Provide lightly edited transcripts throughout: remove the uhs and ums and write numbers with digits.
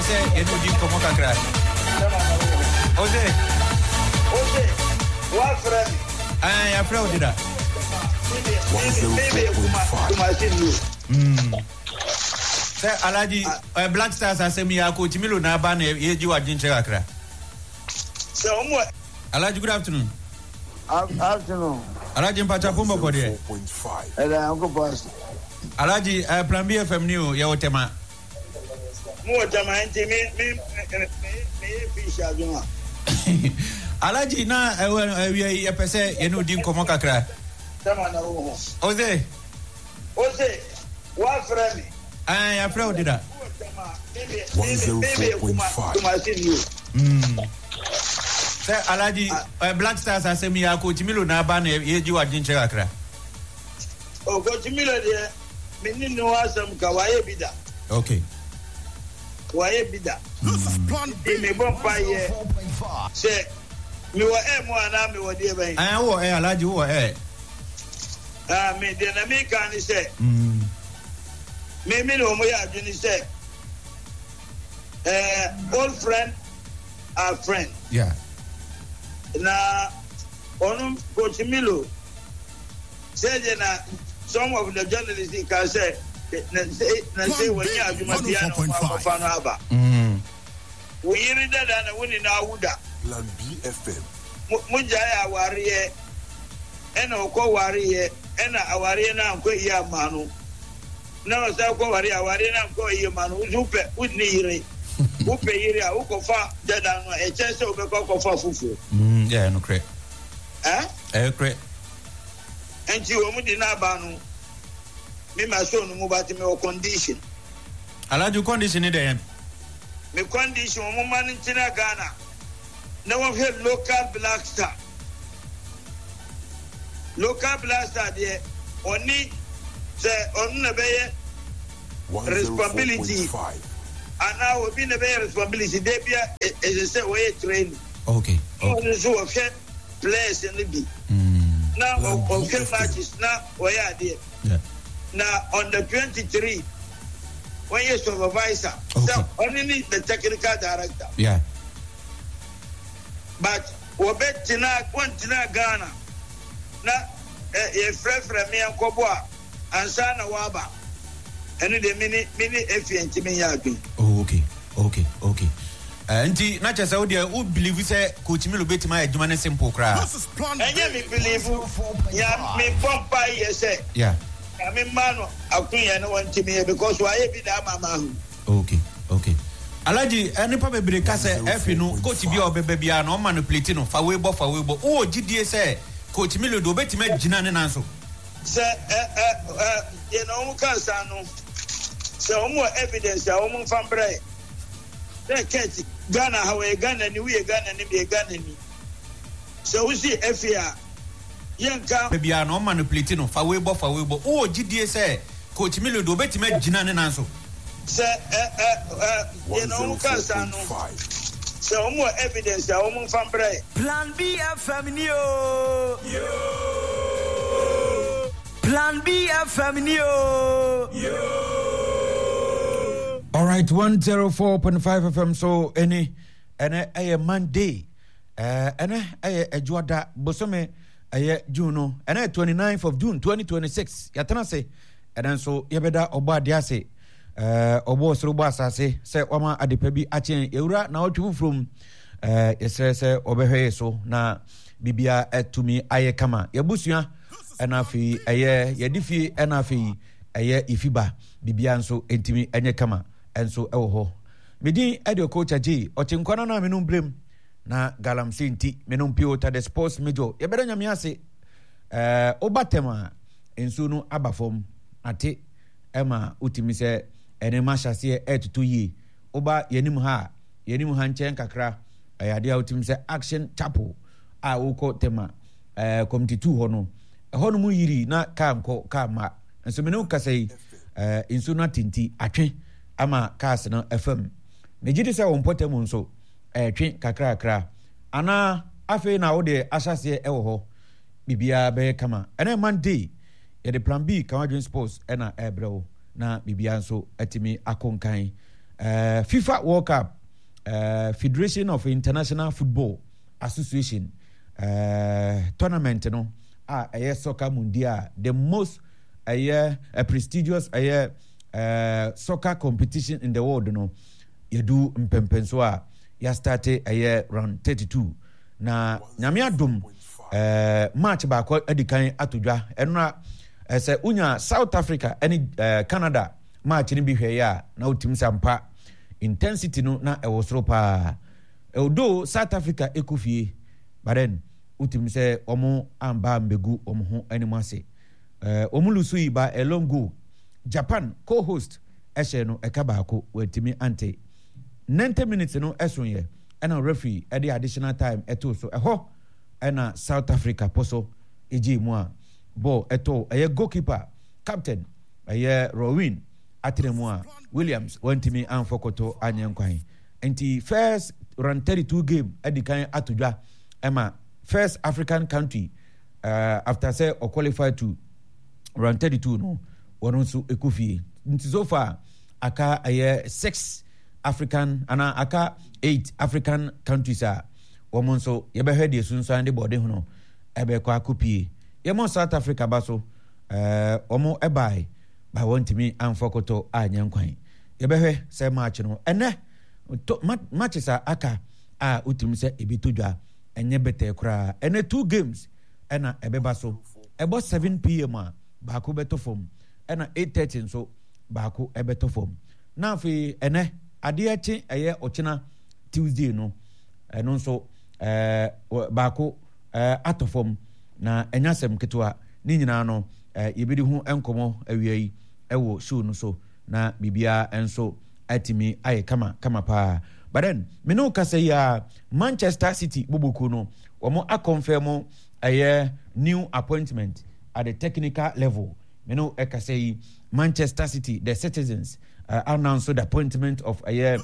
sɛ yɛne odi nkɔmmɔ kakra. Ose. Ose, woafrɛ me. Ɛɛ, yɛafrɛ wo deda. Sɛ Alhaji, eh, Black Stars asɛm yi akɔ Milo na aba na yɛgye w'adwenkyerɛ kakra. Sɛ wɔn wɔ. Alhaji, good afternoon. Afternoon. Alhaji mpacha pon bɔkɔ deɛ. Ɛda Nyankopɔn ase. Alhaji, eh, Plan B FM ni o, yɛwɔ Tema. Mo wɔ Tema nti me me me me yɛ fish adwuma. Alhaji na ɛwɔ awia yi yɛpɛ sɛ yɛne odi nkɔmmɔ kakra. Tema na wo ho. Ose. Ose, woafrɛ me. Ɛɛ, yɛafrɛ wo deda. Sɛ Alhaji, eh, Black Stars asɛm yi a Coach Milo na aba na yɛgye w'adwenkyerɛ kakra. Oh, Coach Milo deɛ, me ne ne ho asɛm ka, wayɛ bi da. Okay. Wayɛ bi da. Nti mebɔ mpaeɛ sɛ mewɔ air mu anaa mewɔ deɛ bɛn? Ɛɛ, wowɔ air, Alhaji, wowɔ air. Ah, me deɛ na meka ne sɛ, me me ne wɔn yɛ adwene sɛ, eh, old friend are friend. Yeah. Na ɔno Coach Milo sɛ deɛ na some of the journalists ka sɛ na sɛ na sɛ wɔnyɛ adwuma biara na wɔn akɔfa no aba. Wo yere dada na wo ne no awo da. Plan B FM. Mo mo gyae awareɛ ɛna ɔkɔ wareɛ ɛna awareɛ no ankɔ yie amma no na ɔsan kɔ wareɛ awareɛ no ankɔ yie ma no wo nso wopɛ wo nni yere wopɛ yere a wokɔfa dada no a ɛkyɛn sɛ wobɛkɔ akɔfa foforɔ. Mm, yeah, nokorɛ. Eh? Ɛyɛ korɛ. Nti wɔn de no aba no me ma so no mu but me wɔ condition. Alhaji condition ne dɛn? Me condition wɔn ma no ntena Ghana na wɔhwɛ local black star. Local black star deɛ ɔne sɛ ɔno na bɛyɛ responsibility anaa obi na bɛyɛ responsibility de bia ɛsɛ sɛ wɔyɛ training. Okay. Na ɔno nso wɔhwɛ players no bi. Na ɔhwɛ matches na wɔyɛ adeɛ. Na on the 23 wɔyɛ supervisor. Sɛ ɔne ne the technical director. Yeah. But wɔbɛtena wɔntena Ghana na yɛfrɛfrɛ me nkɔbɔ a ansa na wɔaba. Ɛno deɛ me ne me ne Efie ntumi nyɛ adwene. Oh okay okay okay. Nti na kyerɛ sɛ wo deɛ wo believe sɛ Coach Milo bɛtumi ayɛ adwuma no simple koraa? Ɛnyɛ me believe, nea me bɔ mpae yɛ sɛ Yeah. Nyame mma no akonya na wantumi yɛ because wayɛ bi da ama mahu. Okay okay. Alhaji, nnipa bebree ka sɛ Efi no coach bi a ɔbɛba biara no ɔma no plate no fa wei bɔ fa wei bɔ. Wowɔ gyidie sɛ Coach Milo deɛ ɔbɛtumi agyina ne nan so? Sɛ ɛ ɛ ɛ deɛ na wɔn ka saa no, sɛ wɔn wɔ evidence a wɔn nfa mbrɛ yɛ. Sɛ Kurt, Ghana ha wɔyɛ Ghana ni, woyɛ Ghana ni, meyɛ Ghana ni. Sɛ wosi efi a, yɛnka. Biara no ɔma no plate no fa wei bɔ fa wei bɔ. Wowɔ gyidie sɛ Coach Milo deɛ ɔbɛtumi agyina ne nan so? Sɛ ɛ ɛ ɛ deɛ na wɔn ka saa no, sɛ wɔn wɔ evidence a wɔn nfa mbrɛ yɛ. Plan B FM ni o. Plan B FM ni o. All right, 104.5 FM so any ɛnɛ ɛyɛ Monday ɛnɛ ɛyɛ Adwoada bosome ɛyɛ June no ɛnɛ 29th of June 2026 yɛatena ase ɛnɛ nso yɛbɛda ɔbɔ adeɛ ase ɔbɔ ɔsoro bɔ asase sɛ wama adepa bi akyɛn yɛwura na ɔtwe foforɔ mu yɛsrɛ sɛ ɔbɛhwɛ yɛ so na biribiara atumi ayɛ kama yɛabusua ɛna afei ɛyɛ yɛde fie ɛna afei ɛyɛ yɛfiba biribiara nso ntumi ɛnyɛ kama ɛnso ɛwɔ hɔ medin ɛde ɔkɔɔkya gye ɔkye nkwa no na menom brem na galamsey nti menom pure water the sports major yɛbɛda nyame ase ɛɛ woba tɛm a nsuo no aba fam ate ɛma wotumi sɛ ɛne ma hyɛseɛ ɛɛtotɔ yie woba yɛnim ha a yɛnim ha nkyɛn kakra ɛyɛ adeɛ a wotumi sɛ action chapel a wokɔ tɛma ɛɛ committee two hɔ no ɛhɔ nom yiri na kaa nkɔ kaa ma nso mene wo kasa yi ɛɛ nsuo no ate nti atwe ama cars no ɛfam megye di sɛ wɔn mpɔtam nso ɛretwe kakrakra anaa afei na wode ahyɛseɛ ɛwɔ hɔ biribiara bɛyɛ kama ɛnɛ Monday yɛde plan B Kamadwen Sports ɛna ɛrebrɛ wo na biribiara nso atumi akɔ nkan. FIFA World Cup, Federation of International Football Association tournament no a ɛyɛ soccer mundial, the most ɛyɛ a prestigious ɛyɛ soccer competition in the world no, yɛdu mpɛmpɛnso a yɛastarte ɛyɛ round 32 na Nyame adom match baako adi kan ato dwa ɛnora. Sɛ wonya South Africa ne Canada match no bi hwɛeɛ a, na wotumi sɛ ampa intensity no na ɛwɔ soro paa. Although South Africa ɛkɔ fie, but then wotumi sɛ wɔn amba mbɛgu wɔn ho anim ase. Wɔn lusu yi by a long goal. Japan co-host ɛhyɛ no ɛka baako, wɔatumi ante. 90 minutes no ɛsoeɛ ɛna referee ɛde additional time ɛtoo so. Ɛhɔ ɛna South Africa po so ɛgyee mu a bɔɔl ɛtɔɔ ɛyɛ goalkeeper captain ɛyɛ Rowin atena mu a Williams wantumi amfɔ koto anyɛ nkwan. Nti first round 32 game adi kan ato dwa ɛma first African country after sɛ ɔqualify to round 32 no, wɔn nso ɛkɔ fie. Nti so far aka ɛyɛ six African anaa aka eight African countries a wɔn nso yɛbɛhwɛ deɛ sunsuan de bɔɔde ho no ɛbɛkɔ akɔpie. Yɛmɔ South Africa ba so, wɔn ɛbae ba wɔntumi amfa koto anyɛ nkwan. Yɛbɛhwɛ sɛ match no ɛnɛ to matches a aka a wotumi sɛ ebi to dwa ɛnyɛ bɛtɛɛ koraa. Ɛnɛ two games ɛna ɛbɛba so. Ɛbɔ 7 p.m. a baako bɛtɔ fam, ɛna 8:30 nso baako ɛbɛtɔ fam. Na afei ɛnɛ adeɛ kye ɛyɛ ɔkyena Tuesday no, ɛno nso baako atɔ fam na ɛnyɛ asɛm ketewa. Ne nyinaa no yɛbɛdi ho nkɔmmɔ awia yi ɛwɔ show no so na biribiara nso atumi ayɛ kama kama paa. But then me ne wo kasa yi a, Manchester City boboku no wɔn akɔnfɛn ɛyɛ new appointment at the technical level. Me ne wo ɛkasa yi, Manchester City, the citizens, announce the appointment of ɛyɛ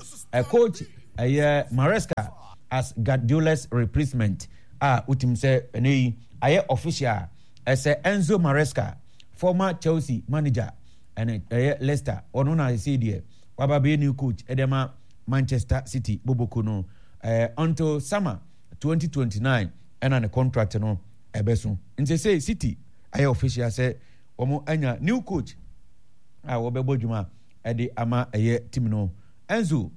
coach ɛyɛ Maresca as Guardiola's replacement a wotim sɛ ɛnɛ yi ayɛ official ɛsɛ Enzo Maresca, former Chelsea manager ɛne ɛyɛ Leicester, ɔno na ɛsɛ deɛ waba bɛyɛ new coach ɛde ma Manchester City boboko no until summer 2029 ɛna ne contract no ɛbɛso. Nti sɛ City ayɛ official sɛ wɔn anya new coach a wɔbɛbɔ dwuma ɛde ama ɛyɛ team no. Enzo,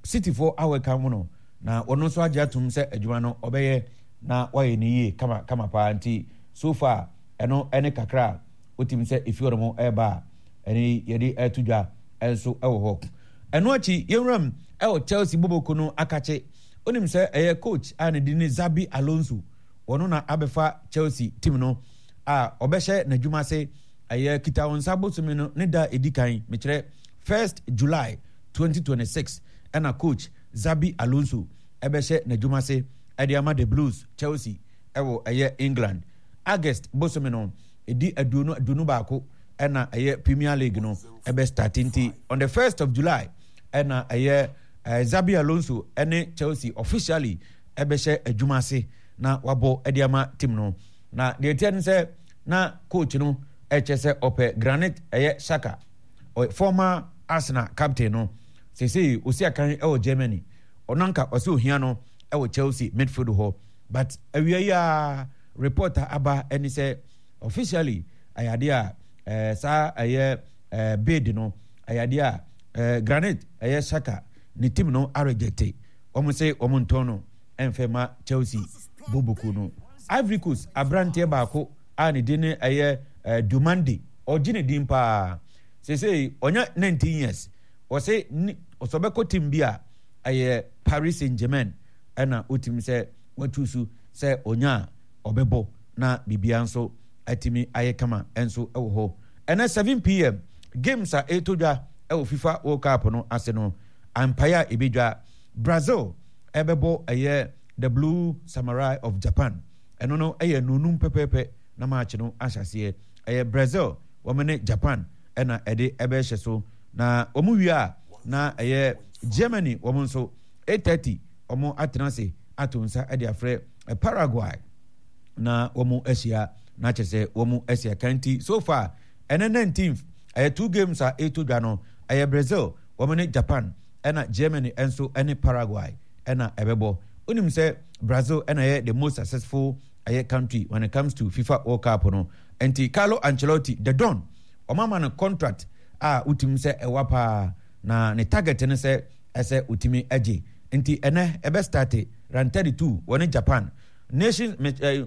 City fo awɛka mu no na wɔn nso agye atum sɛ adwuma no ɔbɛyɛ na wayɛ ne yie kama kama paa. Nti so far ɛno ɛne kakra a wotumi sɛ efi hɔ nom ɛreba a ɛne yɛde ɛto dwa ɛnso ɛwɔ hɔ. Ɛno akyi yɛnwuram ɛwɔ Chelsea boboko no akakye. Onim sɛ ɛyɛ coach a ne din ne Xabi Alonso, wɔn na abɛfa Chelsea team no a ɔbɛhyɛ n'adwuma ase ɛyɛ kita wɔn nsa bosome no ne da edi kan, mekyerɛ 1st July 2026, ɛna coach Xabi Alonso ɛbɛhyɛ n'adwuma ase ɛde ama the Blues, Chelsea, ɛwɔ ɛyɛ England. August bosome no ɛdi 21 ɛna ɛyɛ Premier League no ɛbɛ start. Nti on the 1st of July ɛna ɛyɛ Xabi Alonso ɛne Chelsea officially ɛbɛhyɛ adwuma ase na wabɔ ɛde ama team no. Na deɛ ɛteɛ no sɛ na coach no ɛkyɛ sɛ ɔpɛ Granit ɛyɛ Xhaka, former Arsenal captain no, sesei osi akan ɛwɔ Germany. Ɔno anka ɔsɛ ohia no ɛwɔ Chelsea midfield hɔ, but awia yi a report a aba ɛne sɛ officially ɛyɛ adeɛ a saa ɛyɛ bid no ɛyɛ adeɛ a Granit ɛyɛ Xhaka ne team no arejecte. Wɔn sɛ wɔn ntɔn no ɛnfɛ ma Chelsea boboku no. Ivory Coast aberanteɛ baako a ne din ne ɛyɛ Diomande, ɔgye ne din paa. Seesei ɔnya 19 years. Ɔsɛ ne ɔsɛ ɔbɛkɔ team bi a ɛyɛ Paris Saint-Germain ɛna otimi sɛ watu so sɛ ɔnya a ɔbɛbɔ na biribiara nso atumi ayɛ kama nso wɔ hɔ. Ɛnɛ 7 p.m. games a ɛretɔ dwa ɛwɔ FIFA World Cup no ase no, ampaeɛ a ɛbɛdwa, Brazil ɛbɛbɔ ɛyɛ the Blue Samurai of Japan. Ɛno no ɛyɛ nonum pɛpɛɛpɛ na match no ahyɛ aseɛ. Ɛyɛ Brazil wɔn ne Japan ɛna ɛde ɛbɛhyɛ so na wɔn wie a, na ɛyɛ Germany wɔn nso 8:30 wɔn atena ase ato nsa ɛde afrɛ Paraguay na wɔn ahyia na kyerɛ sɛ wɔn ahyia kanti. So far ɛnɛ 19th ɛyɛ two games a ɛretɔ dwa no, ɛyɛ Brazil. wɔn ne Japan ɛna Germany nso ne Paraguay ɛna ɛbɛbɔ. Wonim sɛ Brazil ɛna ɛyɛ the most successful ɛyɛ country when it comes to FIFA World Cup no. Nti Carlo Ancelotti, the Don, wɔn ama no contract a wotumi sɛ ɛwa paa na ne target no sɛ ɛsɛ otumi agye. Nti ɛnɛ ɛbɛ start round 32 wɔne Japan. Nations eh,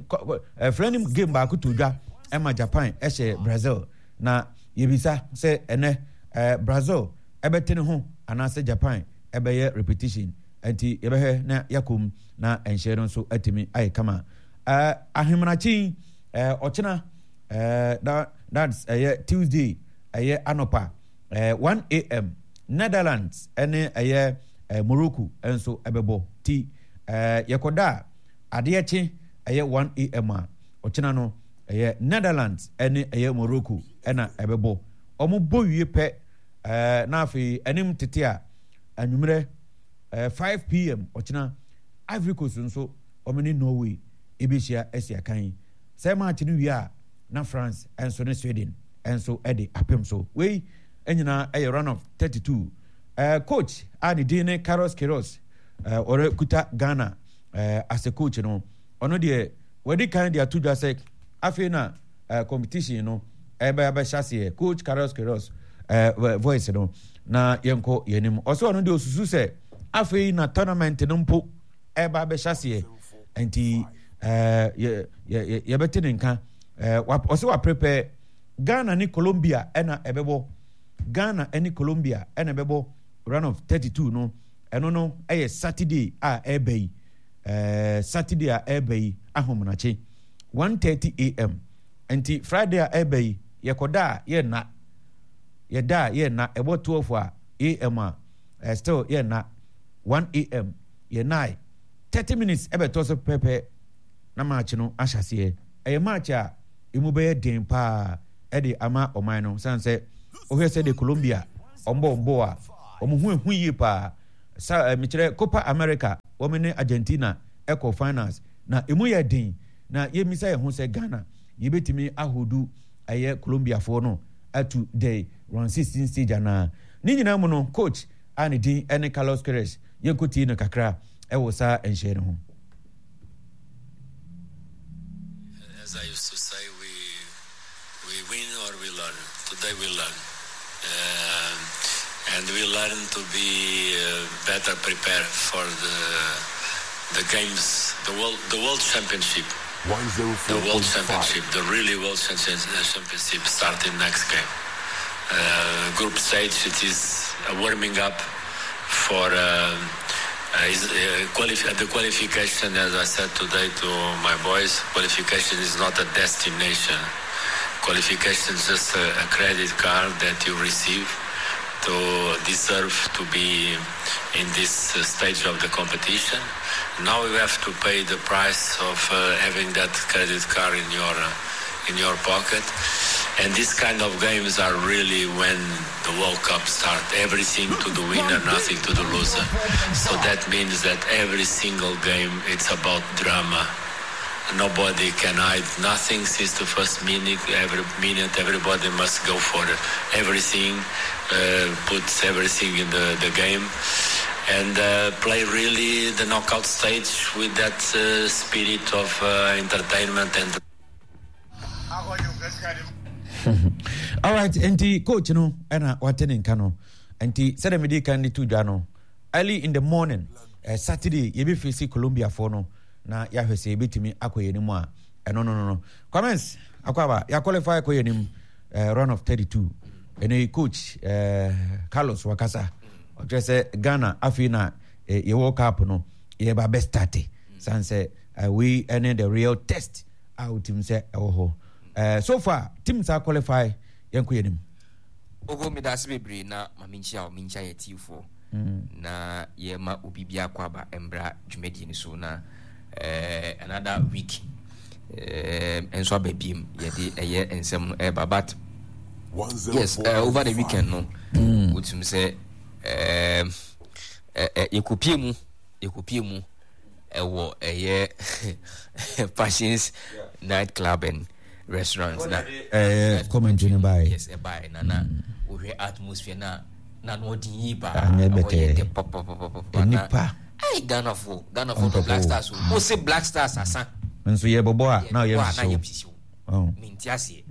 eh, friendly game baako to dwa ɛma Japan ɛhyɛ Brazil na yɛbisa sɛ ɛnɛ eh, Brazil ɛbɛte ne ho anaasɛ Japan ɛbɛyɛ repetition nti yɛbɛhwɛ na yɛakɔ mu na nhyɛ no nso atumi ayɛ kama. Eh, ahemanakye eh, ɔkyena eh, that, that's ɛyɛ eh, Tuesday ɛyɛ anɔpa eh, 1 am Netherlands ɛne ɛyɛ eh, Morocco nso ɛbɛbɔ ti eh, yɛkɔda a adeɛ kye ɛyɛ 1 am a ɔkyena no ɛyɛ Netherlands ɛne ɛyɛ Morocco ɛna ɛbɛbɔ wɔn bɔ wie pɛ ɛɛ na afei anim tete a anwummerɛ ɛɛ 5 pm ɔkyena Ivory Coast nso wɔn ne Norway ɛbɛhyia asi akan sɛ match no wie a na France nso ne Sweden nso ɛde apem so wei nyinaa ɛyɛ round of 32 ɛɛ coach a ne din ne Carlos Queiroz ɛɛ ɔrekuta Ghana ɛɛ as a coach no ɔno deɛ wɔde kan de ato dwa sɛ afei na uh, competition no ɛbɛ abɛhyɛ aseɛ coach Carlos Queiroz uh, voice no na yɛnkɔ yɛn anim ɔsɛ ɔno deɛ osusu sɛ afei na tournament no mpo ɛba abɛhyɛ aseɛ nti ɛɛ yɛ yɛ yɛbɛte ne nka ɛɛ ɔsɛ wa prepare Ghana ne Colombia ɛna ɛbɛbɔ Ghana ɛne Colombia ɛna ɛbɛbɔ round of 32 no ɛno no ɛyɛ Saturday a ɛɛba yi ɛɛ Saturday a ɛɛba yi ahomenakye. 1:30 am nti Friday a ɛreba yi yɛkɔda a yɛnna yɛda a yɛnna ɛbɔ 12 a am a eh, still yɛnna 1 am yɛnnae 30 minutes ɛbɛtɔ so pɛpɛ na match no ahyɛ aseɛ ɛyɛ match a emu bɛyɛ den paa ɛde ama ɔman no san sɛ wohwɛ sɛ de Colombia ɔmbɔ ɔmbɔ a wɔn ho ehu yie paa sa eh, mekyerɛ Copa America wɔn ne Argentina ɛkɔ finals na emu yɛ den Na yɛmmisa yɛn ho sɛ Ghana yɛbɛtumi ahodu ɛyɛ Colombiafoɔ no atu the round 16 stage anaa? Ne nyinaa mu no coach a ne din ne Carlos Queiroz yɛnkɔtie no kakra ɛwɔ saa nhyɛɛ no ho. As I used to say, we we win or we learn. Today we learn, uh, and we learn to be uh, better prepared for the the games, the world the world championship. The world championship, the really world championship starting next game. Uh, group stage, it is a warming up for uh, uh, is, uh, quali- the qualification, as I said today to my boys, qualification is not a destination. Qualification is just a, a credit card that you receive to deserve to be in this uh, stage of the competition. Now you have to pay the price of uh, having that credit card in your uh, in your pocket. And these kind of games are really when the World Cup starts. Everything to the winner, nothing to the loser. So that means that every single game it's about drama. Nobody can hide nothing since the first minute. Every minute, everybody must go for everything, uh, put everything in the, the game, and uh, play really the knockout stage with that uh, spirit of uh, entertainment and. Alright, nti coach no ɛna wate ne nka no. Nti sɛdeɛ mede kan de to dwa no, early in the morning, eh, Saturday yɛbɛfesi Colombiafoɔ no na yɛahwɛ sɛ yɛbɛtumi akɔ yɛn anim a ɛno no no no. Kwamens, akɔ aba, yɛaqualify kɔ yɛn anim eh, round of 32. Ɛno coach eh, Carlos wakasa. Ɔkyerɛ sɛ Ghana afei na eh, yɛwɔ cup no yɛba bɛstarte. Sane sɛ eh, wei ɛne the real test a wotim sɛ ɛwɔ hɔ eh, so far team saa qualify yɛnkɔ yɛn anim. Ogo medase bebree na ma menkyia wo menkyia yɛ tiefoɔ mm. na yɛma obi biako aba mbra dwumadie no so na eh, another week eh, nso aba biem yɛde ɛyɛ nsɛm no ɛba but yes uh, over the weekend no mm. wotumi sɛ eh, eh, eh, yɛkɔpie mu yɛkɔpie mu ɛwɔ ɛyɛ Passions night club and restaurant na ɛyɛ commentary no baeɛ yes ɛbaeɛ na na wohwɛ atmosphere na. Na no ɔden yie paa. Anyɛ Ɛhɔ yɛ bɛtɛɛ. dɛ papapapapa. Nnipa. Ai Ghanafoɔ, Ghanafoɔ dɔ Black Stars o. Mo se Black Stars asa. Nso yɛbɔbɔ a na ɔyɛ Yɛbɔ a na nhyehyɛ yɛ o. nhyehyɛ o. Oh. Mente aseɛ.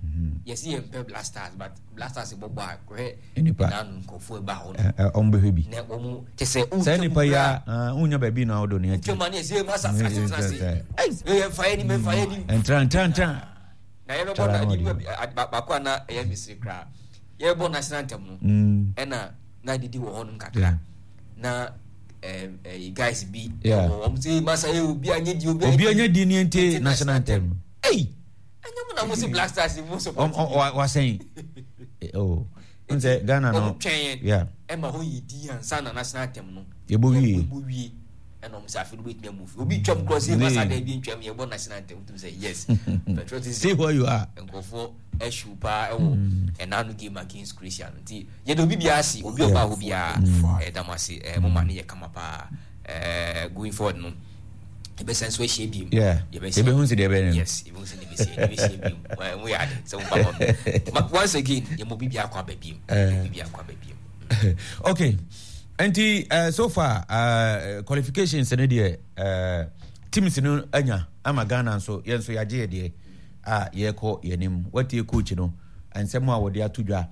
Yɛse yɛmpɛ Black Stars but Black Stars bɔbɔ a kɔhwɛ Nnipa. naanu nkurɔfoɔ ɛba hɔ no. Ɛ- ɛ, Ɔmo bɛhwɛ bi. Na wɔn kyɛ sɛ Saa wotwa mu nipa yi koraa. a ah, wonya baabi na wodɔ ne akyi. Wotwa mu a ne yɛse masa tena ase tena ase. Yɛmfa yɛ nim yɛmfa yɛ nim. Ntra ntra ntra. Na yɛbɛbɔ Tara na na ade ɔde bi baako a na ɛyɛ mesere koraa. Yɛbɛbɔ national anthem no. Ɛna na didi wɔ hɔnom kakra. Na guys bi wɔ wɔn sɛ masa yɛ obi anyɛ di obi Obi anya di ne nti national anthem. Ei! Ɛnyɛ mo na mo se Black Stars mo support. Wasɛn. Oh. N sɛ Ghana no. Wɔn twɛn Yeah. ɛma hɔ yɛ di ansa na national anthem no. Yɛbɔ wie. Yɛbɔ wie. Ɛna wɔn sɛ afei no bɛtumi amu fi. Obi twam korɔ sɛ masa da bi ntwam yɛbɔ national anthem tum sɛ yes. Patriotism. Stay where you are. Nkurɔfoɔ ɛhyew paa ɛwɔ ɛna no game against Croatia no nti yɛde obi biara ase obi ɔbaa hɔ biara ɛda mo ase ɛɛ mo ma ne yɛ kama paa ɛɛ going forward no yɛbɛsan nso ahyia biem yɛbɛhu sɛ deɛ ɛbɛyɛ no yes yɛbɛhu sɛ deɛ ɛbɛsi yɛbɛhyia biem mo yɛ ade sɛ mo ba hɔ no once again yɛmɔ obi biara kɔ aba biem yɛmɔ obi biara kɔ aba biem. Okay nti so far qualifications no deɛ teams no anya ama Ghana nso yɛn nso yɛagye yɛ deɛ a yɛrekɔ yɛn anim. Watie coach no nsɛm a wɔde ato dwa.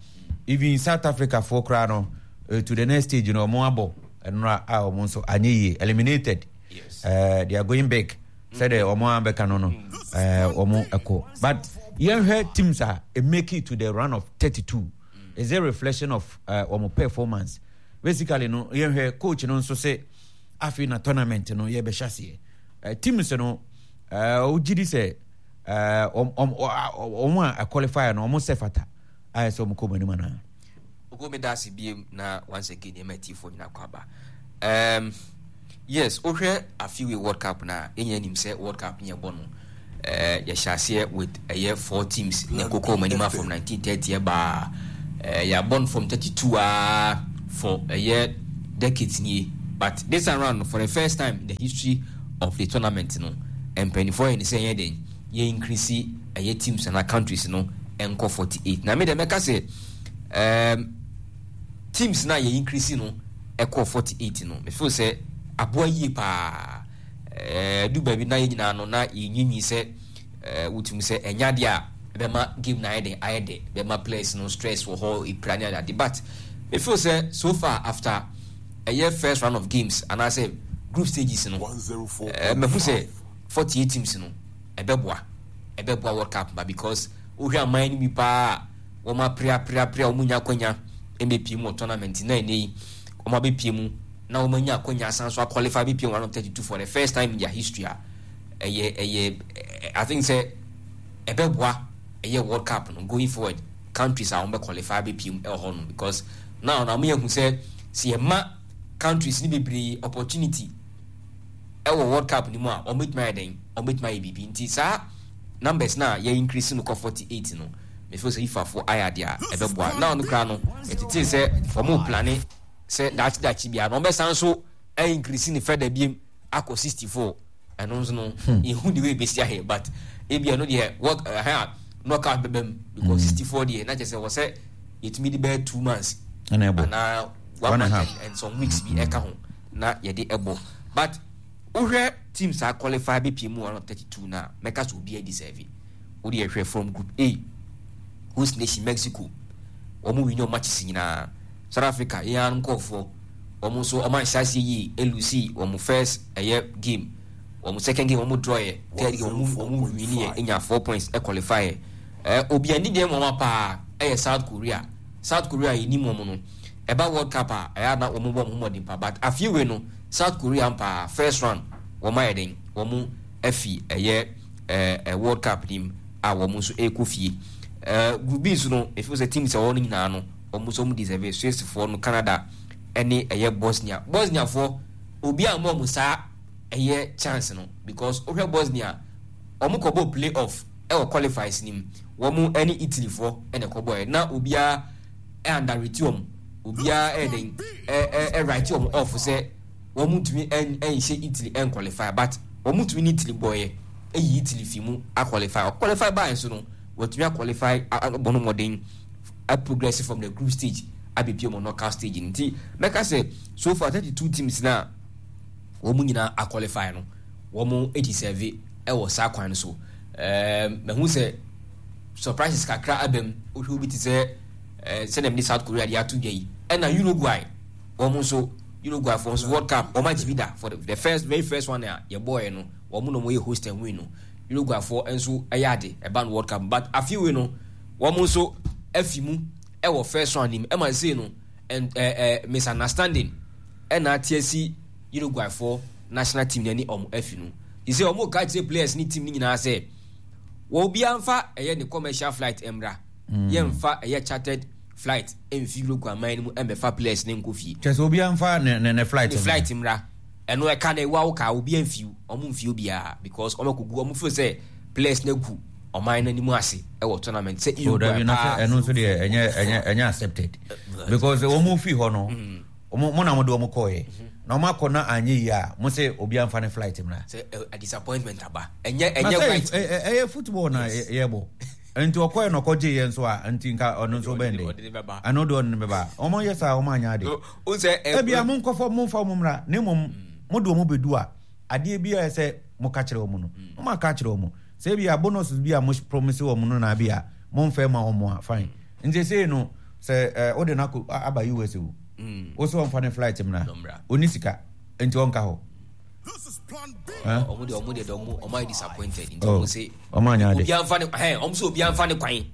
Even South Africa foɔ koraa no to the next stage no wɔn abɔ nnora a wɔn nso anyɛ yie eliminated. Yes. They are going big. Sɛdeɛ wɔn abɛka no no wɔn ɛkɔ. But yɛnhwɛ teams a make it to the round of 32. Is it reflection of wɔn performance? Basically no yɛnhwɛ coach no nso sɛ afei na tournament no yɛbɛhyɛ aseɛ. Teams no wogye di sɛ wɔn a qualify no wɔn sɛ fata ayɛ sɛ wɔn kɔ wɔn anim anaa. Ogo me da ase biem na once again yɛma atiefoɔ nyina kɔ aba. Yes, wohwɛ afiwe World Cup na yɛnyɛ nim sɛ World Cup ne yɛbɔ no yɛhyɛ aseɛ with ɛyɛ four teams na ɛkɔkɔ wɔn anim from 1930 ɛbaa yɛabɔ no from 32 a for ɛyɛ decades nie but this time round for the first time in the history of the tournament no mpanyinfoɔ yɛ ne sɛ yɛn den yɛ increase ɛyɛ teams ana countries no nkɔ 48 na me deɛ mɛka sɛ teams na yɛ increase no ɛkɔ 48 no me feel sɛ aboa yie paa ɛɛ du baabi na yɛ nyinaa no na yɛnyinyi sɛ ɛɛ wotumi sɛ ɛnya deɛ a ɛbɛma game na ayɛ den ayɛ dɛ bɛma players no stress wɔ hɔ epira ne ade but me feel sɛ so far after ɛyɛ first round of games anaasɛ group stages no ɛɛ mɛhu sɛ 48 teams no ɛbɛboa ɛbɛboa World Cup ba because wohwɛ aman no bi paa a wɔn apere apere apere a wɔn nya akwanya mbɛpie mu wɔ tournament na ɛnɛ yi wɔn abɛpie mu na wɔn anya akwanya asan so aqualify bɛpie mu round of 32 for the first time in their history a ɛyɛ ɛyɛ I think sɛ ɛbɛboa ɛyɛ World Cup no going forward countries a wɔn bɛ qualify bɛpie mu ɛwɔ hɔ no because now na wɔn yɛ hu sɛ sɛ yɛ ma countries ne bebree opportunity ɛwɔ World Cup no mu a wɔn bɛtumi ayɛ dɛn wɔn bɛtumi ayɛ biribi nti saa numbers na yɛ increase no kɔ 48 no me feel sɛ FIFA fo ayɛ adeɛ a ɛbɛboa now no koraa no ɛtete sɛ wɔn plane sɛ daakye daakye biara na wɔn bɛsan so increase ne further biem akɔ 64 ɛno nso no yɛhu de wei bɛsi ahɛ but ebi ɛno deɛ work ɛhɛn a knockout bɛbɛ mu because 64 deɛ na kyerɛ sɛ wɔ sɛ yɛtumi de bɛyɛ 2 months anaa one month and some weeks bi ɛka ho na yɛde ɛbɔ but wohwɛ teams a qualify bɛpie mu 132 na mɛka sɛ obiara deserve wode yɛhwɛ from group A host nation Mexico wɔn win wɔn matches nyinaa. South Africa yɛn ara nkurɔfoɔ wɔn nso wɔn anhyɛ aseɛ yie elusi wɔn first ɛyɛ game wɔn second game wɔn draw yɛ third game wɔn win yɛ enya 4 points ɛqualify yɛ ɛɛ obi ani deɛ wɔn paa ɛyɛ South Korea. South Korea yɛ nim wɔn no ɛba World Cup a ɛyɛ ana wɔn bɔ wɔn ho mmɔden pa but afei wei no South Korea paa first round wɔn ayɛ den wɔn afi ɛyɛ ɛɛ World Cup nim a wɔn nso ɛrekɔ fie. Group B nso no efi sɛ teams a wɔn nyinaa no wɔn nso wɔn deserve. Swissfoɔ no, Canada ɛne ɛyɛ Bosnia. Bosniafoɔ obi a wɔn saa ɛyɛ chance no because wohwɛ Bosnia wɔn kɔbɔ play off ɛwɔ qualifiers nim wɔn ɛne Italyfoɔ ɛna ɛkɔbɔ yɛ na obiara ɛunderrate wɔn obiara ɛyɛ den ɛwrite wɔn off sɛ wɔn ntumi ɛnhyɛ Italy ɛnqualify but wɔn ntumi ne Italy bɔɔyɛ ɛyi Italy fi mu aqualify ɔqualify baa nso no wɔtumi aqualify abɔ no mmɔden progress from the group stage. abɛpie mu knockout stage no. Nti mɛka sɛ so far 32 teams no a wɔn nyinaa aqualify no, wɔn deserve wɔ saa kwan no so. Ɛɛm, mahu sɛ surprises kakra aba mu. Wohwɛ obi te sɛ ɛɛ sɛdeɛ mede South Korea de ato dwa yi, ɛna Uruguay wɔn nso Uruguay foɔ nso World Cup wɔn agye bi da for the first very first one a yɛbɔɔɛ no, wɔn na wɔyɛ host and win no. Uruguay foɔ nso ɛyɛ ade ɛba no World Cup, but afe wei no wɔn nso afi mu ɛwɔ first round nim ɛma sei no and ɛɛ ɛɛ misunderstanding ɛna ate asi Uruguay foɔ national team no ne wɔn afi no. Te sɛ wɔn ka kyerɛ players ne team no nyinaa sɛ wɔ obiara nfa ɛyɛ ne commercial flight mmra. Mm. Yɛnfa ɛyɛ chartered flight mfi Uruguay man no mu ɛmbɛfa players ne nkɔ fie. Kyerɛ sɛ obiara nfa ne ne ne flight. Ne flight mmra. Ɛno ɛka na ewa wo ka obiara mfi wɔn mfi obiara because wɔn akɔgu wɔn feel sɛ players no agu ɔman no anim ase ɛwɔ tournament sɛ Uruguay oh, paa. Ɛno nso deɛ ɛnyɛ ɛnyɛ ɛnyɛ accepted because wɔn fi hɔ no. Mm. Ɔmo mo na mo de ɔmo kɔɔɛ na ɔmo akɔ na anyɛ yie a mo se obiara nfa ne flight mmra. Sɛ ɛ disappointment aba ɛnyɛ ɛnyɛ right. Ɛ ɛyɛ football na yɛ bɔ nti ɔkɔɛ na ɔkɔ gye yɛ nso a nti nka ɔno nso bɛn de ɛno de ɔde ne bɛba ɔmo yɛ saa ɔmo anyɛ ade. Ebia mo nkɔfɔ mo nfa ɔmo mmra na mmom mo de ɔmo bɛdu a adeɛ bi a ɛsɛ mo ka kyerɛ ɔmo no mo ma ka kyerɛ ɔmo sɛ ebia bonus bi a mo promise ɔmo no na bi a mo nfɛ ma ɔmo a fine. Nti sei no sɛ eh, wode no akɔ aba US o mm. wo sɛ ɔmfa ne flight mmra ɔni sika nti ɔnka hɔ ɔmo de ɔmo de ɔmo ɔmo ayɛ disappointed nti ɔmo oh, se ɔmo anya ade obi anfa ne hɛn ɔmo sɛ obi anfa ne kwan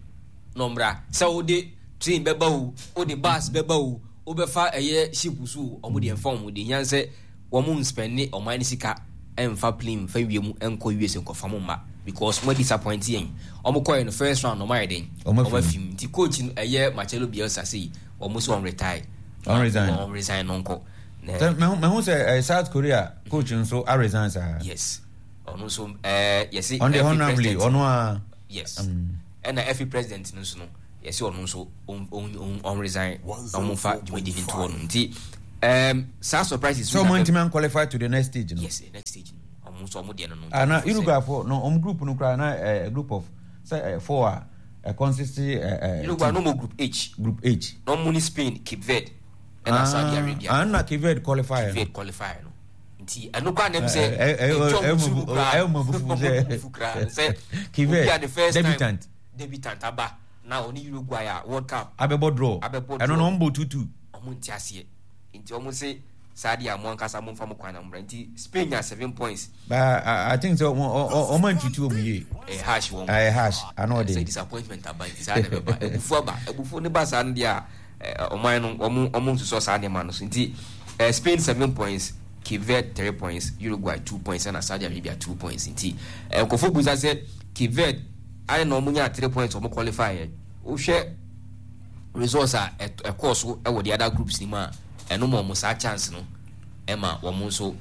na ɔmra sɛ wode train bɛba o wode bus bɛba o wobɛfa ɛyɛ ship so o ɔmo deɛ nfa ɔmo de hia sɛ Wɔn nspɛnde ɔman no sika nfa plane nfa wiem nkɔ US nkɔfa mo mma because mo disappoint yɛn. Wɔn kɔɛ no first round wɔn ayɛ dɛn? Wɔn afi mu. Nti coach no ɛyɛ Marcelo Bielsa sei wɔn sɛ wɔn retire. Wɔn resign. Wɔn resign no nkɔ. Mehu sɛ eh, South Korea coach nso a resign saa. Yes. Ɔno nso ɛɛ yɛsi. Ɔno deɛ honorably ɔno a. Yes. Ɛna FA president no nso no yɛsi ɔno nso ɔn resign na wɔn fa dwumadi no ntoɔ no nti um, saa surprises. So wɔn ntumi qualify to the next stage no. Yes, the next stage no wɔn nso wɔn deɛ no no. Ah, na Uruguay fo no wɔn group no koraa na eh, group of sɛ eh, four a eh, consist eh, eh, Uruguay no mo group H. Group H. Na wɔn ni Spain, Cape Verde ɛna ah, Saudi Arabia. Ah, na Cape Verde qualify. Cape Verde qualify no. Nti ɛno koraa na ɛm sɛ ɛtwa wɔn tiri mu koraa. Ɛwɔ abufu sɛ. Sɛ obi a the first time debutant aba. Na ɔne Uruguay a World Cup. Abɛbɔ draw. Abɛbɔ draw. Ɛno no wɔn bɔ tutu. Wɔn nte aseɛ. Nti wɔn se saa deɛ a mo ankasa mo nfa mo kwan na mo bra. Nti Spain nya seven points. But I, I think sɛ wɔn wɔn antutu wɔn yie. Ɛyɛ harsh wɔn. Ɛyɛ harsh ano ɔde. Sɛ disappointment aba nti saa na ɛbɛba. Abufuo aba. Abufuo ne ba saa no deɛ a ɔman no wɔn wɔn nsusɔ saa nneɛma no so. Nti Spain seven points. Cape Verde three points, Uruguay two points ɛna Saudi Arabia two points. Nti nkurɔfoɔ bisa sɛ Cape Verde Ayɛ na wɔn nyaa three points wɔn qualify yɛ. Wohwɛ results a ɛkɔɔ so wɔ the other groups ni mu a, ɛno ma wɔn saa chance no ɛma wɔn nso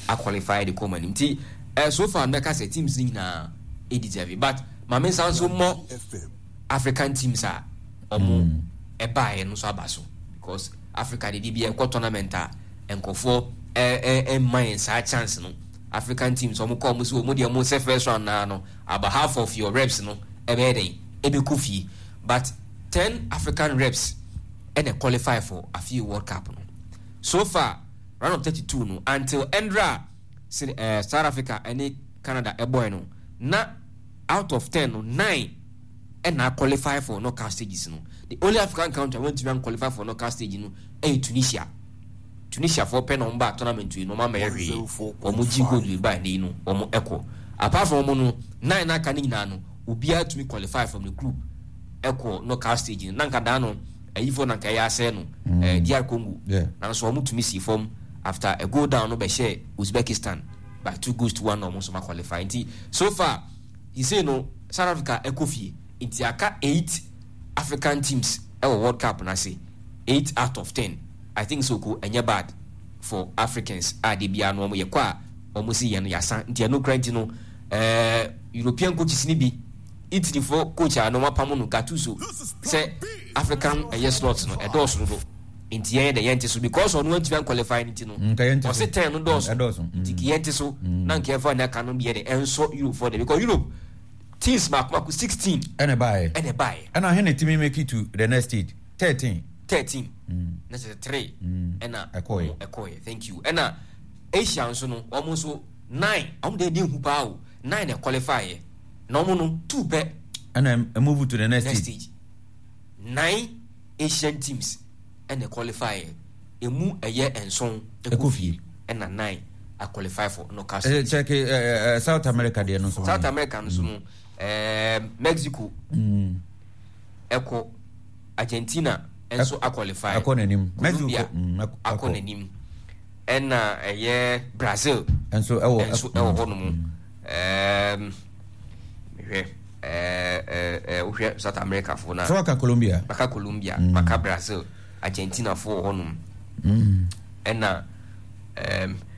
aqualify de kɔ wɔn anim. Nti eh, so far mɛka sɛ teams no nyinaa deserve but maame nsa nso mmɔ African teams a wɔn ɛbaeɛ no nso aba so because Africa de bi ɛkɔ tournament a nkurɔfoɔ ɛmma yɛn saa chance no. African teams wɔn kɔ wɔn so wɔn deɛ wɔn sɛ first round naa no about half of your reps no ɛbɛyɛ dɛn ɛbɛkɔ fie but 10 African reps ɛna qualify for afie World Cup no so far round of 32 no until ɛndra uh, South Africa ɛne Canada ɛbɔɛ no na out of 10 no 9 ɛna qualify for knockout stages no the only African country a wɔntumi qualify for knockout stage no ɛyɛ Tunisia. Tunisiafoɔ pɛ na wɔn baa tournament wei no wɔn ammɛyɛ hwee, wɔn gye gold wei baa ɛnɛ yi no wɔn ɛkɔ. Apart from wɔn no, nine na aka no nyinaa no, obiara tumi qualify from the group ɛkɔ knockout stage no. Na nka daa no, ayifoɔ na nka ɛyɛ asɛe no, eh, DR Congo. Nanso wɔn tumi sii fam after a goal down no bɛhyɛɛ Uzbekistan by 2-1 na wɔn nso ma qualify. Nti so far, sisei no South Africa ɛkɔ fie, nti aka eight African teams ɛwɔ World Cup no ase, 8 out of 10. I think so ko ɛnyɛ bad for Africans a da biara no wɔn yɛkɔ a wɔn si yɛn no yasa nti ɛno kura nti no ɛɛ European coaches ni bi Italy fo coach a na wɔn apam no Gattuso sɛ African ɛyɛ slots no ɛdɔɔso dodo nti yɛn dɛ yɛn te so because ɔno antumi anqualify no nti no ɔse ten no dɔɔso nti yɛn te so na nka yɛfa ne aka no bi yɛ dɛ ɛnsɔ Europe fo dɛ because Europe teams mako mako 16 ɛna ɛbaeɛ ɛna ɛbaeɛ ɛna hene tumi make it to the next stage 13. 13 na kyerɛ sɛ 3 ɛna Ɛkɔeɛ. wɔn ɛkɔeɛ. Thank you. Ɛna Asia nso no wɔn nso 9, wɔn deɛ ɛdi nhu paa o, 9 na ɛqualify yɛ. Na wɔn no 2 pɛ. Ɛna move to the next Next stage. stage. 9 Asian teams ɛna qualify yɛ. Emu ɛyɛ 7 Ɛkɔ fie. Ɛna 9 a qualify for knockout Eh, stage. check, South America deɛ no nso. South America nso no, Mexico ɛkɔ, Argentina nso a qualify. Ɛkɔ n'anim. Colombia Mexico, akɔ ɛkɔ. n'anim. Ɛna ɛyɛ Brazil Nso ɛwɔ, nso ɛwɔ hɔ nom. Mehwɛ, wohwɛ South America fo na. So waka Colombia? Maka Colombia, maka Brazil, Argentina fo wɔ hɔ nom. Ɛna,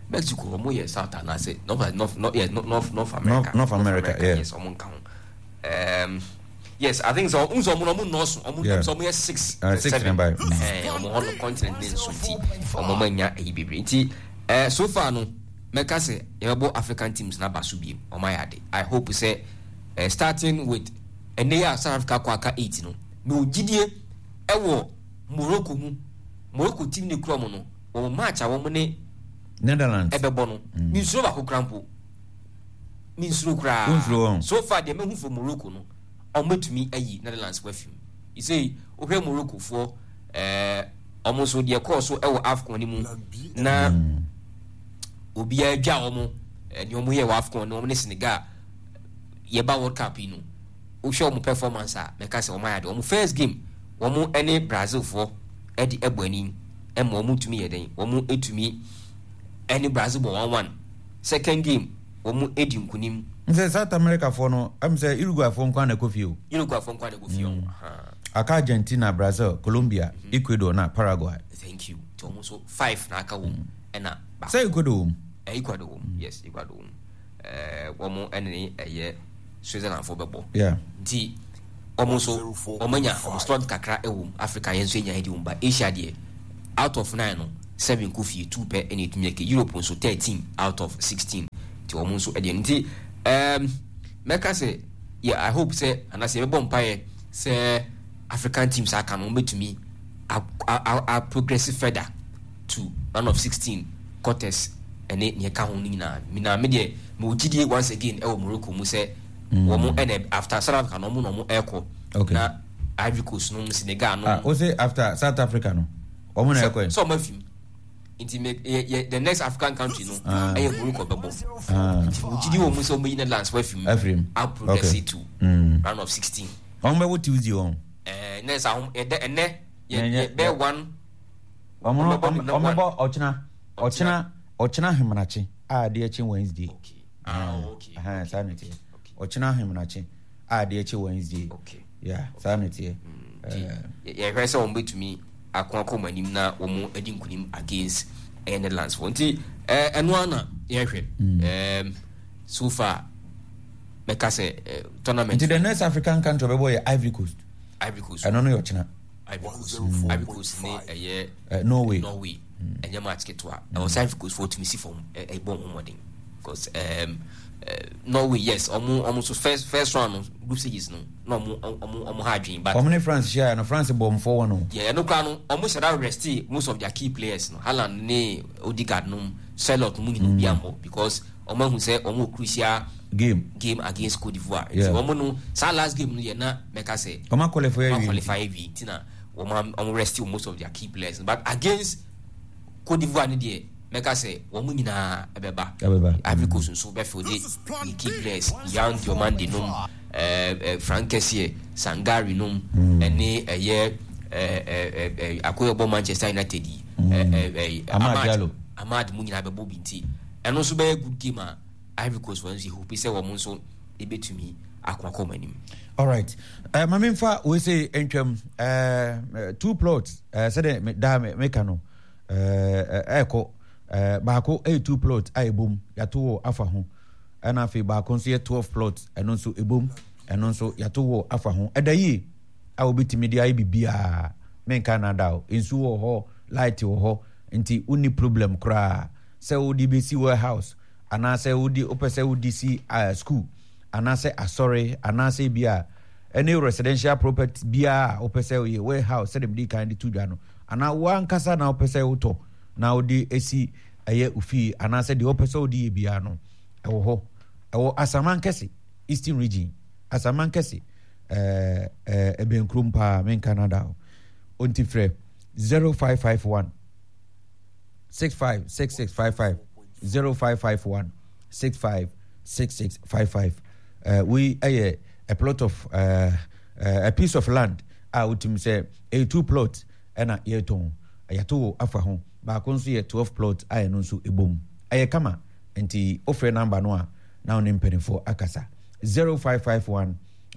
Mexico wɔn yɛ South anaasɛ North, North, North, yes, North, North America. North, North America, yeah. Yes, wɔn nka ho. Yes, I think so. Nso wɔn wɔn nɔɔso, wɔn nso wɔn yɛ 6, 6 7. number. Wɔn hɔ no continent ne nso nti wɔn wɔn anya ɛyi bebree nti, so far no mɛka sɛ yɛbɛbɔ African teams n'aba so biem, wɔn ayɛ ade. I hope sɛ, starting with ɛnɛ yi a South Africa kɔ aka 8 no, mɛ ogyidie ɛwɔ Morocco mu. Morocco team ne kura mu no, wɔn match a wɔn ne Netherlands ɛbɛbɔ no, mi nsuro baako kura mpo. Mi nsuro koraa. Wonsuro wɔn. So far deɛ mehu for Morocco no, wɔn bɛtumi ayi Netherlands wɔ afim. Isei wohwɛ Morocco foɔ, wɔn nso deɛ kɔɔ so ɛwɔ AFCON no mu na obiara dwa wɔn, nea wɔn yɛ wɔ AFCON no, wɔn ne Senegal yɛba World Cup yi no, wohwɛ wɔn performance a, mɛka sɛ wɔn ayɛ ade. Wɔn first game wɔn ne Brazil foɔ ɛde ɛbɔ anim ɛma wɔn tumi yɛ den, wɔn tumi ɛne Brazil bɔ 1-1. Second game wɔn edi nkunim. Nsɛ South America foɔ no, ɛm sɛ Uruguay foɔ nko na ɛkɔ fie o. Uruguay foɔ nko na ɛkɔ fie o. Aka Argentina, Brazil, Colombia, Ecuador na Paraguay. Thank you. Nti wɔn nso 5 na aka wɔm ɛna baako. Sɛ Ecuador wɔm. Ecuador wɔm. Yes, Ecuador wɔm. Wɔn ɛne ne ɛyɛ Switzerland foɔ bɛbɔ. Nti wɔn nso wɔn anya wɔn slot kakra ɛwɔ mu. Africa yɛn nso anya ɛde wɔn ba. Asia deɛ out of 9 no 7 kɔ fie, 2 pɛ ɛna etumi ɛkɛ. Europe nso 13 out of 16. Nti wɔn nso ɛdeɛ nti, mɛka sɛ yɛ I hope sɛ anaasɛ yɛbɛbɔ mpaeɛ sɛ African teams aka no wɔn bɛtumi a progress further to round of 16 quarters ɛne nea ɛka ho no nyinaa. Na me deɛ mewɔ gyidie once again ɛwɔ Morocco mu sɛ wɔn ɛna after South Africa no wɔn na wɔn ɛkɔ. Na Ivory Coast no Senegal no. O se after South Africa no wɔn na ɛkɔ yi. Sɛ wɔn afi mu. Nti me yɛ yɛ the next African country no ɛyɛ Morocco bɛbɔ. Nti gyidie wɔ mu sɛ wɔn bɛyi Netherlands wɔ afi mu. Afiri mu. A progress to round of 16. Wɔn bɛwɔ Tuesday wɔn. Ɛɛ nɛ sɛ ahom ɛdɛ ɛnɛ yɛ yɛ bɛ one. Wɔn no wɔn bɛbɔ ɔkyena ɔkyena ɔkyena ahemanakye a adeɛ kye Wednesday. Okay. Ah, okay. Ɛhɛn saa na ɛteɛ. Ɔkyena ahemanakye a adeɛ kye Wednesday. Okay. Yeah, saa na ɛteɛ. Yɛhwɛ sɛ wɔn bɛtumi ako akɔ wɔn anim na wɔn adi nkunim against ɛyɛ Netherlands foɔ. Nti ɛno ara na yɛhwɛ. So far mɛka sɛ tournament. Nti the next African country ɔbɛbɔ yɛ Ivory Coast. Ivory Coast. Ɛno no yɛ ɔkyena. Ivory Coast. Ivory Coast ne ɛyɛ Norway. Norway. Ɛnyɛ match ketewa. Ɛwɔ sɛ Ivory Coast foɔ tumi si fam ɛbɔ wɔn mmɔden. Because Norway yes, ɔmo ɔmo so first round no group stages no na ɔmo ɔmo ɔmo ha adwene but. Ɔmo ne France hyia no France bɔ ɔmo 4-1 o. Yeah, ɛno koraa no ɔmo hyɛ da rest most of their key players no, Haaland ne Odegaard nom, Sørloth nom nyinaa obi ammɔ because ɔmo ahu sɛ ɔmo wɔ crucial game against Cote d'Ivoire. Nti ɔmo no saa last game no yɛ na mɛka sɛ ɔmo aqualify awie. Ɔmo aqualify awie nti na ɔmo ɔmo rest most of their key players but against Cote d'Ivoire ne deɛ mɛka sɛ wɔn nyinaa ɛbɛba. Ivory Coast nso bɛfɛ de ne key players Yan Diomande nom, Frank Kessié, Sangare nom, ɛne ɛyɛ akoyɛ bɔ Manchester United yi, Amad Amad mu nyinaa bɛbɔ bi nti ɛno nso bɛyɛ good game a Ivory Coast wɔn nso yɛ hope sɛ wɔn nso ebɛtumi akɔ akɔ wɔn anim. All right. Maame nfa wei sɛ ntwam 2 plots sɛdeɛ daa meka no ɛkɔ baako ɛyɛ 2 plot a ɛbom yɛato wɔ afa ho, ɛna afei baako nso yɛ 12 plot, ɛno nso ɛbom, ɛno nso yɛato wɔ afa ho. Ɛda yie a wobɛtumi de ayɛ biribiaa, menka nada o, nsuo wɔ hɔ, light wɔ hɔ, nti wonni problem koraa sɛ wode bɛsi warehouse anaasɛ wode wopɛ sɛ wode si school anaasɛ asɔre anaasɛ bi a ɛne residential property biara a wopɛ sɛ woyɛ warehouse sɛdeɛ mede kan de to dwa no anaa wo ankasa na wopɛ sɛ wotɔ na wode asi ɛyɛ ofie anaasɛ deɛ wopɛ sɛ wode yɛ biara no ɛwɔ hɔ ɛwɔ Asamankɛse Eastern Region Asamankɛse ɛɛ ɛbɛn kurom paa menka nada o ɔnti frɛ 0551 656655 0551 656655 uh, wei ɛyɛ a plot of uh, uh, a piece of land a wotumi sɛ ɛyɛ two plot ɛna yɛtɔn yɛato wɔ afa ho baako nso yɛ 12 plot a ɛno nso ɛbom ɛyɛ kama nti wofrɛ namba no a na wo ne mpanimfoɔ akasa 0551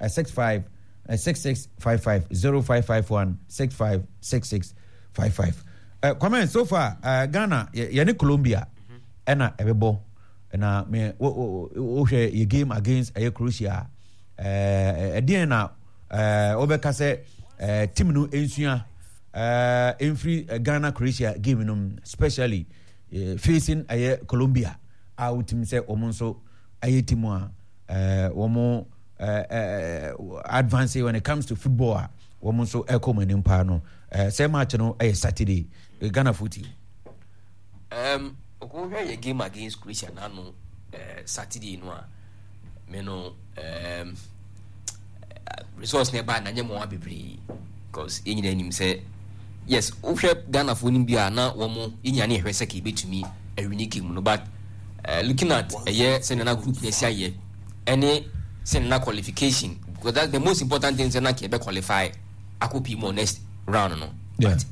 65 6655 0551 65 6655 uh, Kwame so far uh, Ghana yɛne Colombia ɛna ɛbɛbɔ na me wohwɛ yɛ game against ɛyɛ Croatia ɛdeɛn na wobɛka sɛ team no nsua mfiri Ghana Croatia game no especially facing ɛyɛ Colombia a wotumi sɛ wɔn nso ɛyɛ team a wɔn advance when it comes to football a wɔn nso ɛkɔ wɔn anim paa no sɛ match no ɛyɛ Saturday Ghana fo team. Um, wohwɛ yɛ game against Croatia n'ano uh, Saturday no a me no um, results na ɛbaa na nyɛ mmoa bebree because yɛn nyinaa nim sɛ yes wohwɛ Ghanafoɔ no bi a na wɔn yɛn nyinaa ne yɛhwɛ sɛ ka yɛbɛtumi awini game no but uh, looking at ɛyɛ sɛ nana group na ɛsi ayɛ ɛne sɛ nana qualification because that's the most important thing sɛ na ka yɛbɛ qualify akɔ pii mu next round no yeah. but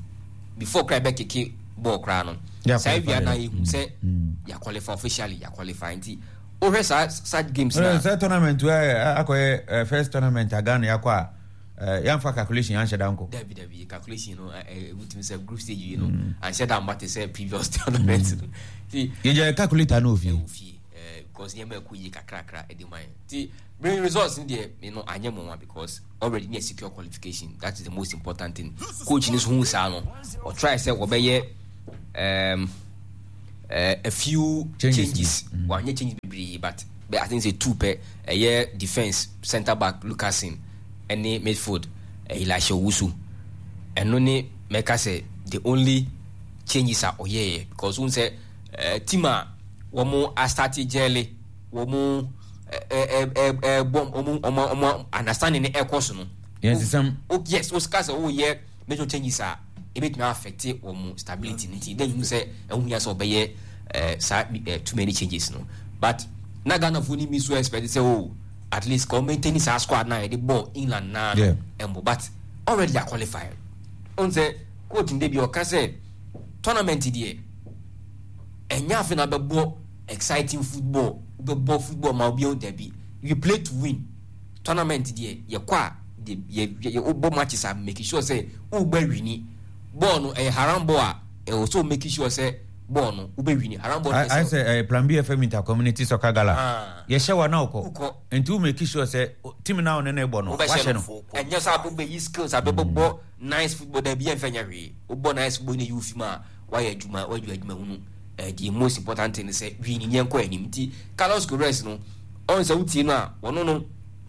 before kora yɛbɛkeke bɔɔl koraa no saa awia na yɛhu sɛ mm. yɛ qualify officially yɛ qualify nti wohwɛ saa such games na sɛ tournament akɔyɛ first tournament a Ghana yɛakɔ a yɛamfa calculation anhyɛ da nkɔ dabi dabi calculation no wotumi sɛ group stage yi no anhyɛ da mma te sɛ previous tournament no nti yɛgya calculator no ofie ofie because nneɛma ɛkɔ yie kakrakra ɛde ma yɛn nti bring results no deɛ me no anyɛ mmoa because already ne secure qualification that is the most important thing coach no so hu saa no ɔtry sɛ wɔbɛyɛ um, a few changes, changes. Mm. Wanyɛ changes bebree but but I think say two pɛ ɛyɛ defence centre back Lukasen ɛne midfield Elisha Owusu ɛno ne mɛka sɛ the only changes a ɔyɛɛ because wɔn sɛ team a wɔn asate gyɛle wɔn ɛbɔ wɔn wɔn wɔn understanding ne ɛkɔ so no. Yɛn sisɛm. Yes, o sika sɛ ɔyɛ major changes a ebetumi affect wɔn stability no nti then you sɛ ɛho hia sɛ ɔbɛyɛ ɛɛ saa ɛɛ too many changes no but na Ghana fo ni mi so expect sɛ o at least kò maintain saa squad na yɛde bɔ England naa no ɛmbɔ but already yɛ qualify ɔn sɛ coach n de bi ɔka sɛ tournament deɛ ɛnyɛ afei na bɛbɔ exciting football wobɛbɔ football ma obi dabi you play to win tournament deɛ yɛkɔ a de yɛ yɛ wobɔ matches a make sure sɛ wobɛ wini bɔɔl no ɛyɛ haram ball a ɛwɔ sɛ make sure sɛ bɔɔl no wobɛ wini haram ball no ayɛ sɛ ɛyɛ plan B FM inter community soccer gala ah. yɛhyɛ wa na wokɔ nti wo make sure sɛ team na wo ne no bɔ no wahyɛ no ɛnyɛ sɛ abobɛyi skills abɛbɔbɔ nice football dabi yɛmfɛ nyɛ hwee wobɔ nice football ne yi wo fi mu a wayɛ adwuma wayɛ adwuma hunu eh, the most important thing sɛ wii ne yɛnkɔ anim nti Carlos Queiroz no ɔn sɛ wotie no a ɔno no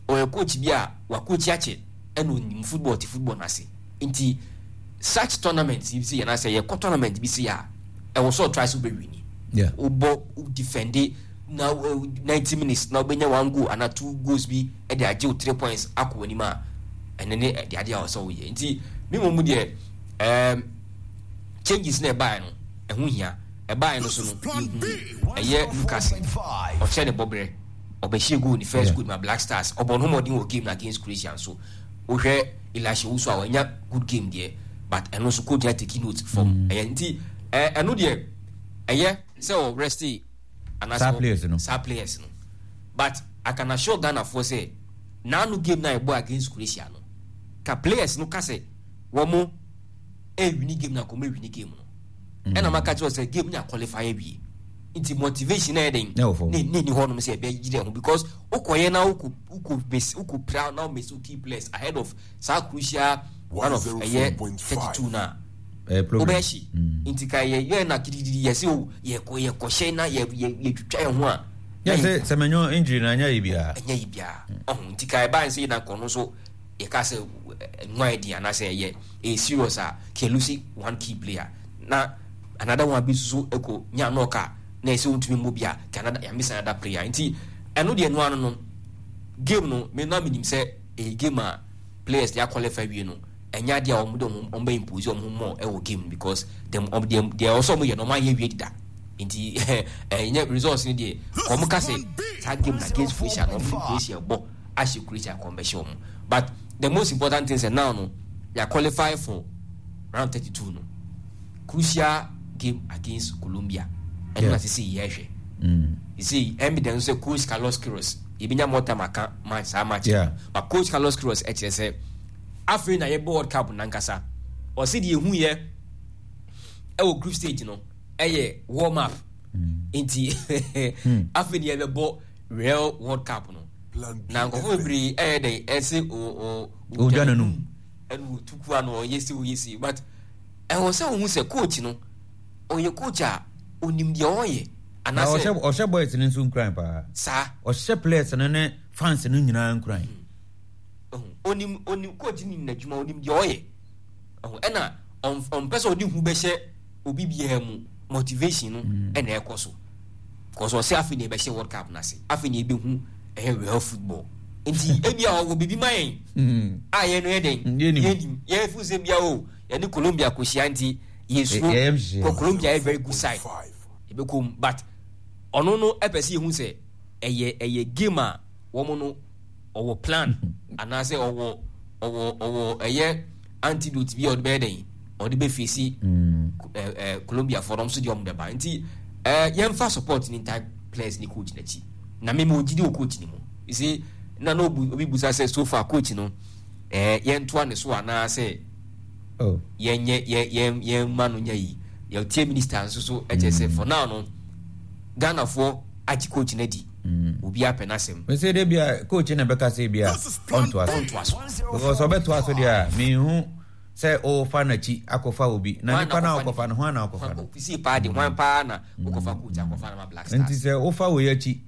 ɔyɛ coach bi a wakochi akyɛ ɛna onim football te football no ase nti such tournament bi sɛ yɛn asɛ yɛkɔ tournament bi sɛ a ɛwɔ sɛ ɔtry sɛ wobɛwini wobɔ defend na 90 minutes na wobɛnya one goal anaa two goals bi de agye wo three points akɔ w'anim a ɛne ne ɛde adeɛ a ɔsɛ woyɛ nti me mmom deɛ um, changes na ɛbaeɛ no ɛho hia ɛbaeɛ no so no yɛhu ɛyɛ Lucas ɔkyerɛ ne bɔberɛ ɔbɛhyɛ goal ne first goal ma Black Stars ɔbɔ ne ho mmɔden wɔ game no against Croatia nso wohwɛ Elisha Owusu a wanya good game deɛ but ɛno nso coach na take note from ɛyɛ nti ɛno deɛ ɛyɛ sɛ ɔ rest anaasɛ players no saa players no but I can assure Ghana foɔ sɛ naano game na ɛbɔ against Croatia no ka players no ka sɛ wɔn ɛwini game na kɔmɛ wini game no ɛna maka kyerɛ sɛ game no qualify awie nti motivation na yɛ den ne ne ni hɔnom sɛ ɛbɛ gyina ho because wokɔyɛ na wokɔ wokɔ mesi wokɔ pira na womesi key players ahead of saa crucial one of ɛyɛ 32 na wobɛyɛ hye nti ka yɛ yɛ na gidigidi yɛ sɛ o yɛkɔ yɛkɔhyɛ na yɛ yɛ yɛtwitwa yɛn ho a yɛ sɛ sɛ mɛnyɔ injury na ɛnyɛ yɛ biara ɛnyɛ yɛ biara ɔho nti ka ɛbaa nsɛ yɛ na nkɔ no so. Yɛka sɛ nwa yɛ den anaasɛ ɛyɛ ɛyɛ serious a, kɛ lose one key player na another one bi nso ɛkɔ nya knock a na ɛsɛ wontumi mmɔ bi a, kɛ another yɛ miss another player. Nti ɛno deɛ no ano no game no me na menim sɛ ɛyɛ game a players de aqualify wie no ɛnyɛ adeɛ a wɔn de wɔn wɔn bɛ impose wɔn ho more ɛwɔ game no because dem wɔn deɛ deɛ ɔsɔ wɔn yɛ no wɔn ayɛ wie deda. Nti ɛnyɛ results no deɛ wɔn ka sɛ saa game na against Croatia no wɔn de Croatia bɔ ahyɛ Croatia kɔn bɛhyɛ wɔn. But the most important thing sɛ now no yɛ qualify for round 32 no crucial game against Colombia ɛno na sisi yɛ hwɛ. Sisi ɛmi dɛn sɛ coach Carlos Queiroz yɛbɛnya more time aka match saa match yeah. But coach Carlos Queiroz ɛkyerɛ sɛ afei na yɛbɔ World Cup nankasa ɔsi deɛ ehu yɛ ɛwɔ group stage no ɛyɛ warm up nti afei deɛ yɛbɛbɔ real World Cup no na nkurɔfoɔ bebree ɛyɛ dɛn ɛsɛ o o odwa n'anum ɛna otuku ano ɔyɛ si ɔyɛ si but ɛwɔ sɛ ohun sɛ coach no ɔyɛ coach a onim deɛ ɔyɛ anaasɛ ɔhyɛ boys no nso nkuran paa saa ɔhyɛ players no ne fans no nyinaa nkuran onim onim coach no nim n'adwuma onim deɛ ɔyɛ ɛna ɔmpɛ sɛ ɔde hu bɛhyɛ obi biara mu motivation no ɛna ɛkɔ so kɔsɔ ɔsɛ afei na ɛbɛhyɛ World Cup n'ase afei na ɛbɛhu ɛyɛ real football nti ebi a ɔwɔ biribi ma yɛn a yɛn no yɛ dɛn yɛnim yɛn fi sɛ bia o yɛne Colombia kɔhyia nti yɛsuro kɔ Colombia yɛ very good side ɛbɛkɔ mu but ɔno no ɛpɛ sɛ yɛhu sɛ ɛyɛ ɛyɛ game a wɔn no ɔwɔ plan anaasɛ ɔwɔ ɔwɔ ɔwɔ ɛyɛ antidote bi a ɔde bɛyɛ dɛn ɔde bɛ fesi ɛɛ ɛɛ Colombia fo no nso deɛ ɔmo bɛba nti ɛɛ yɛnfa support ne ntaa players ne coach n'akyi na mímu ogyidi wɔ coach ne mu you see na na obi obi busa sɛ so far coach no ɛɛ yɛntoa ne so anaasɛ oh. yɛnyɛ yɛ yɛn yɛn ma no nyɛ yi yɛtie minister nso so ɛkyɛ sɛ for now no Ghana foɔ agye coach no adi. Obi apɛ n'asɛm. Mese de bia coach na bɛka sɛ bia ɔntoa so. Ɔntoa so. Because ɔbɛtoa so deɛ a menhu sɛ ɔfa n'akyi akɔfa obi. Na nipa no a ɔkɔfa no hwan na ɔkɔfa no? Sisi paa de hwan paa na wokɔfa coach akɔfa no ma Black Stars. Nti sɛ wofa wei akyi.